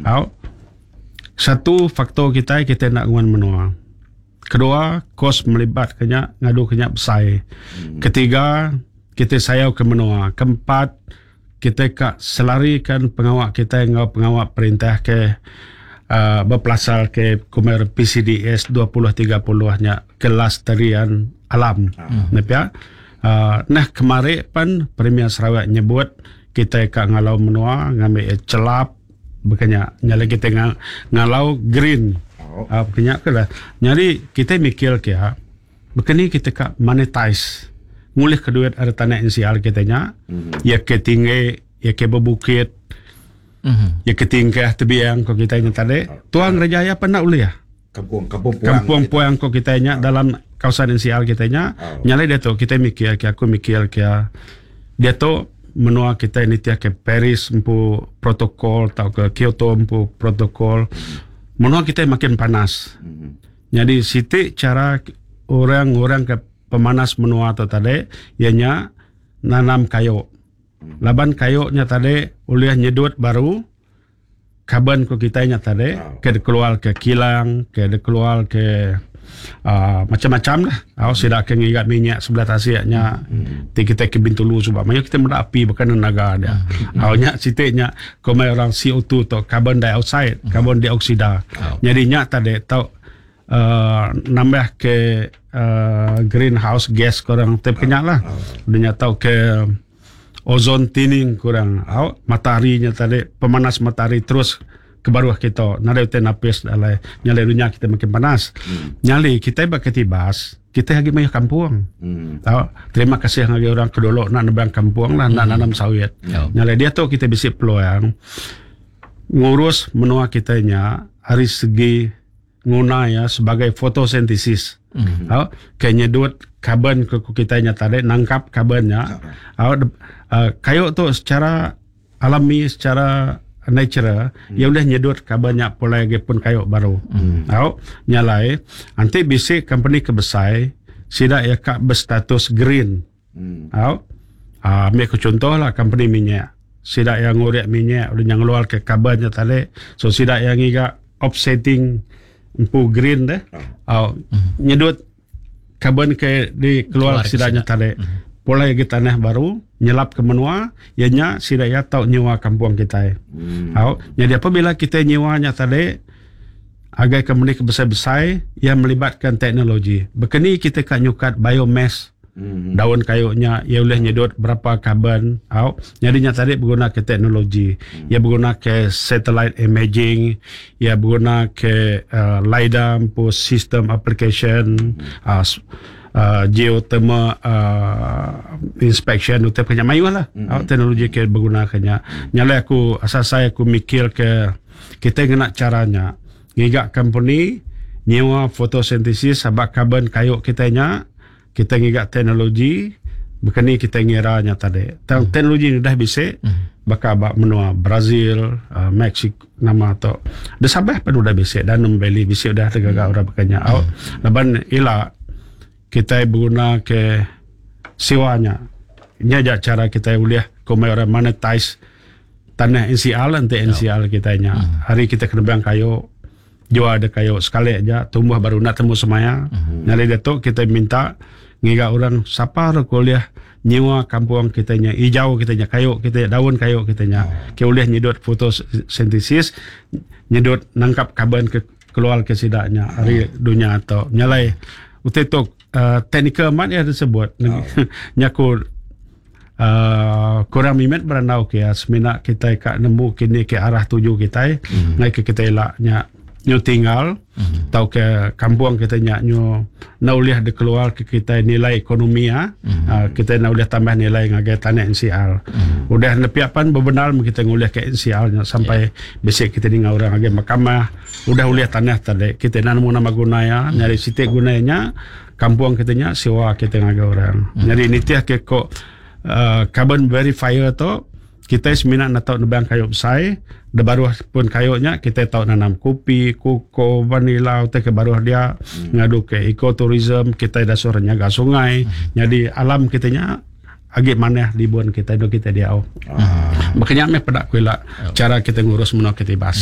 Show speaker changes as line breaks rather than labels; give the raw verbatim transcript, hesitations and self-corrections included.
Au. Satu faktor kitai, kitai enda nguan menua. Kedua, kos melibat ke nya, ngadu ke nya besai. Ketiga, kitai sayau ke menua. Keempat, kitai ka selarikan pengawa kitai enggau pengawa perintah ke uh, bepelasar ke kumer P C D S dua ribu tiga puluh nya, kelestarian alam. Hmm. Nepia. Uh, nah kemari pan Premier Sarawak nyebut kita ka ngalau menua ngambil celap bekanya nyala kita ng- ngalau green.
Oh.
Uh, bekanya ke lah. Jadi kita mikir ke ya, bekani kita ka monetize ngulih ke duit ari tanah N C R kita nya,
Mm.
ya ke tinggi, ya ke berbukit,
Mhm.
ya ke tingkah tebiang ko kita nya tadi. Tuang Raja ya pernah ulih ya?
Kampung kampung puang.
Kampung puang ko kita nya dalam kawasan N C R kita nya.
Oh.
Nyalai dia tu kita mikir ke, aku mikir ke dia tu menua kita ni tiap ke Paris empu protokol atau ke Kyoto empu protokol. Menua kita makin panas.
Mm.
Jadi siti cara orang-orang ke pemanas menua tu tadi ianya nanam kayu. Laban kayu nya tadi ulih nyedut baru karbon ko kita nya tadi
Oh.
ke keluar ke kilang, ke keluar ke uh, macam-macam lah. Oh, sidak ke ngigat minyak sebelah tasiknya. Hmm. Ti kita ke Bintulu sebab banyak kita meda api bukan tenaga dia. Hmm. Oh, nya siti nya komai orang C O dua tu, carbon dioxide, hmm. karbon dioksida.
Oh.
Jadi nya tadi tau uh, nambah ke uh, greenhouse gas korang tip kenyak lah. Dia nya tau ke ozone thinning kurang. Au, mataharinya tadi, pemanas matahari terus ke bawah kita. Nada utai napis dalai nyalai dunia kita makin panas. Hmm. Nyali kita bak Katibas, kita lagi mayuh kampung.
Hmm.
Tahu, terima kasih lagi orang kedolok nak nebang kampung lah, nak nanam sawit.
Ya.
Nyalai dia tu kita bisi peluang ngurus menua kita nya hari segi nguna ya sebagai fotosintesis. Mm-hmm. Tahu, ke nyedut karbon ke ku kita nya tadi, nangkap karbonnya. Tahu, uh, kayu tu secara alami, secara natural, hmm. ia boleh nyedut karbonnya pulai lagi pun kayu baru. Hmm. Tahu, nyalai nanti bisi company kebesai sidak ya kak berstatus green.
Hmm.
Tahu? Ah, ambil aku contoh lah company minyak. Sidak yang ngurek minyak, udah yang ngeluar ke karbonnya tadi. So sidak yang ngiga offsetting empu green deh. Oh. Nyedut karbon ke di keluar
Keluar ke
sidaknya
sidak.
Tadi. Pulai ke tanah baru, nyelap ke menua, ianya sidak ya tau nyewa kampung kita.
Hmm.
Tahu? Jadi apabila kita nyewanya tadi, agar company besar-besar yang melibatkan teknologi. Bekeni kita kat nyukat biomass,
Hmm.
daun kayunya ia boleh nyedut berapa karbon au. Jadinya tadi berguna ke teknologi, ia berguna ke satellite imaging, ia berguna ke uh, LiDAR pu system application, uh, s- uh, geothermal uh, inspection utai punya mayu lah
Hmm.
au, teknologi ke berguna kenya. Nyalai aku asal saya aku mikir ke kita kena caranya ngigak company nyewa fotosintesis sabak karbon kayu kita nya, kita ngigak teknologi bekeni kita ngira nya tadi. Tang hmm. teknologi ni dah bisa hmm. bakal bak menua Brazil, uh, Mexico nama tu. Dah sabah pun udah bisa dan Valley bisa udah tergagak orang bekanya. Hmm. Laban ila kita berguna ke sewanya. Ini aja cara kita boleh komai orang monetize tanah N C R, nanti N C R kita nya. Hari kita kena bang kayu, jual ada kayu sekali aja tumbuh baru nak temu semaya. Hmm. Nyali dia tu kita minta ngiga orang siapa kuliah nyewa kampung kita nya hijau kita nya, kayu kita, daun kayu kita nya. Oh. Ke boleh nyedut fotosintesis, nyedut nangkap karbon ke keluar ke sidaknya hari dunia atau nyalai utai tu uh, teknikal mat ya tersebut. Oh. Nyaku uh, kurang mimet berandau ke ya semina kita kat nemu kini ke arah tuju kita mm. ngai ke kita elak nya nyu tinggal mm. tau ke kampung kita nya nyu na ulih de keluar ke kita nilai ekonomi ya mm. uh, kita na ulih tambah nilai ngagai tanah N C R mm. Udah nepiapan bebenar kita ngulih ke N C R nya sampai yeah. besok kita dengar orang ngagai mahkamah udah ulih tanah tadi kita nak nemu nama guna ya mm. Nyari sitik gunanya kampung kita nya sewa kita ngagai orang mm. Nyari nitiah ke kok uh, carbon verifier tu kita seminat nak tahu nebang kayu besar de baruh pun kayunya kita tahu nanam kopi, koko, vanila utai ke baruh dia hmm. ngadu ke ecotourism kita dah suruh nyaga sungai hmm. Jadi alam kita nya agi maneh libun kita do kita dia. Ah. Makanya me pedak kuila cara kita ngurus menua Katibas.